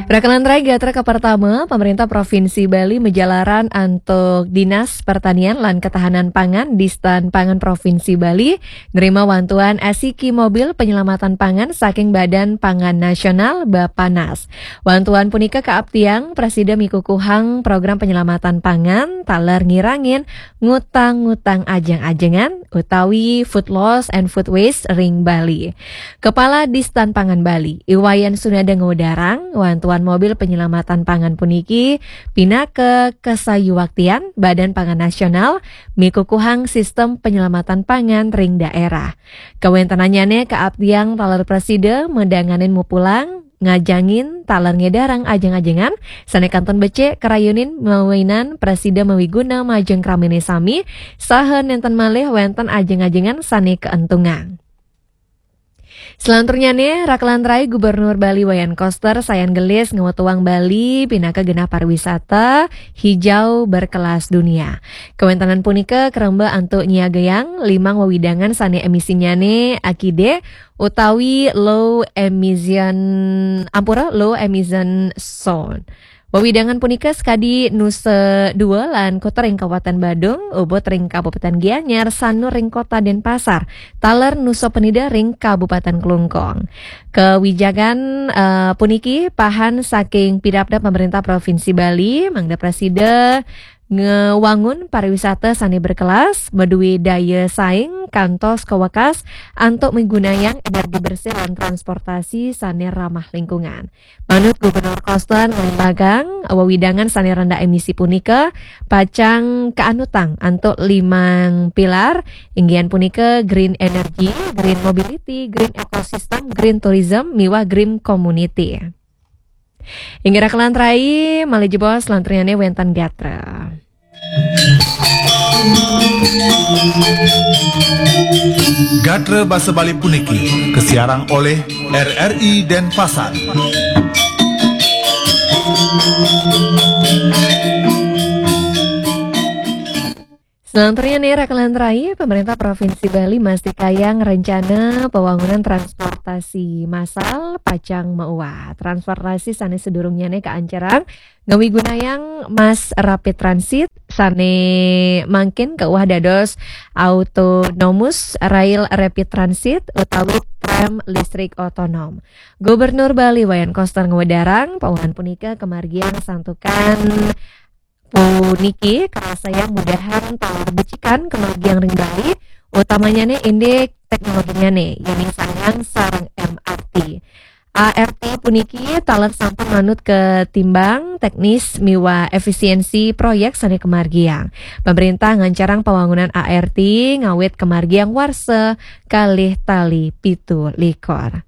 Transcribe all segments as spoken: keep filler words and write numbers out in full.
Rakan lantarai, gatra ka pertama, pemerintah Provinsi Bali majalaran antuk Dinas Pertanian lan Ketahanan Pangan, Distan Pangan Provinsi Bali, nerima wantuan asiki mobil penyelamatan pangan saking Badan Pangan Nasional, Bapanas. Wantuan punika kaaptiang prasida mikukuhang program penyelamatan pangan, taler ngirangin ngutang-ngutang ajeng-ajengan, utawi food loss and food waste ring Bali. Kepala Distan Pangan Bali, I Wayan Sunada ngwedarang, wantuan mobil penyelamatan pangan puniki pinaka kasayuwaktian Badan Pangan Nasional mikukuhang sistem penyelamatan pangan ring daerah. Kawentenannyane kaaptiang taler prasida madanganin mupulang, ngajangin, taler ngedarang ajeng-ajengan sane kantun becik, karayunin mawinan prasida mawiguna majeng kramene sami, saha nenten malih wenten ajeng-ajengan sane kaentungang. Selanturnyane, rakan lantarai, Gubernur Bali Wayan Koster sayan gelis ngwetuang Bali pinaka genah pariwisata hijau berkelas dunia. Kawentenan punika karemba antuk nyiagayang limang wewidangan sane emisinyane akide utawi low emission, ampura, low emission zone. Wewidangan punika sakadi Nusa Dua lan Kuta ring Kabupaten Badung, Ubud ring Kabupaten Gianyar, Sanur ring Kota Denpasar, taler Nusa Penida ring Kabupaten Klungkung. Kawijakan, eh, puniki pahan saking pidabdab pemerintah Provinsi Bali, mangda prasida ngewangun pariwisata sane berkelas, madue daya saing, kantos kawekas antuk migunayang energi bersih lan transportasi sane ramah lingkungan. Manut Gubernur Koster nglembagang, wewidangan sane rendah emisi punika pacang kaanutang antuk limang pilar, inggih punika green energy, green mobility, green ecosystem, green tourism, miwah green community. Inggih rakan lantarai, malih jebos lanturnyane wenten gatra. Gatra basa Bali puniki kasiarang olih R R I Denpasar. Selanturnyane, rakan lantarai, pemerintah Provinsi Bali mastikayang rencana pembangunan transportasi massal pacang mauah. Transportasi sane sadurungnyane kaancerang ngawigunayang Mass Rapid Transit, sane mangkin kauah dados Autonomous Rail Rapid Transit utawi tram listrik otonom. Gubernur Bali Wayan Koster ngwedarang, pauhan punika kamargiang santukan puniki karasayang mudahang taler becikan kamargiang ring Bali, utamanyane indik teknologinyane, yaining sanggan sareng M R T. A R T puniki taler sampun manut katimbang teknis miwah efisiensi proyek sane kamargiang. Pemerintah ngancarang pawangunan A R T ngawit kamargiang warsa kalih tali pitu likur.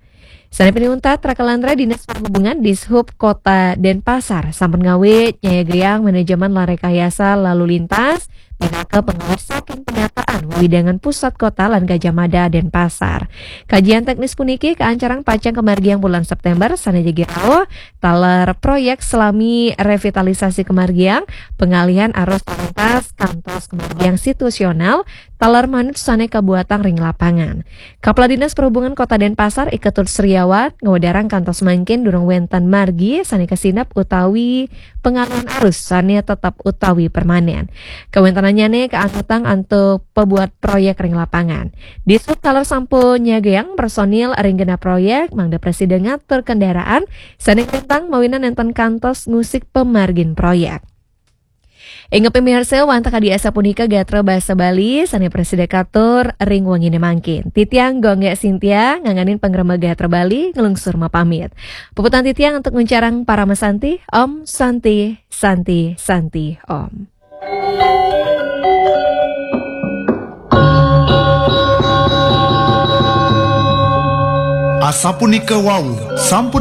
Sane pinih untat, rakan lantarai, Dinas Perhubungan, Dishub Kota Denpasar sampun ngawit nyayagayang manajemen lan rekayasa lalu lintas, pinaka pangawit saking penataan wewidangan pusat kota lan Gajah Mada, Denpasar. Kajian teknis puniki kaancarang pacang kamargiang bulan September, sane jagi rauh taler proyek salami revitalisasi kamargiang, pengalihan arus lalu lintas kantos kamargiang situasional, taler manut sane kabuatang ring lapangan. Kepala Dinas Perhubungan Kota Denpasar, I Ketut Sriawan, ngwedarang kantos mangkin durung wenten margi sane kasinep utawi pengalihan arus sane tetep utawi permanen. Kawentenannyane kaanutang antuk pabuat proyek ring lapangan. Dishub taler sampun nyagayang personil ring genah proyek mangda prasida ngatur kendaraan sane nglintang mawinan nenten kantos ngusik pamargin proyek. Inggih pamiarsa, wantah kadi asapunika gatra basa Bali sane prasida katur ring wengine mangkin. Titiang Gung Gek Sintia nganganin pangremba gatra Bali nglungsur mapamit. Puputang titiang antuk nguncarang parama santi, Om Santi, Santi, Santi, Om. Asapunika wau, sampun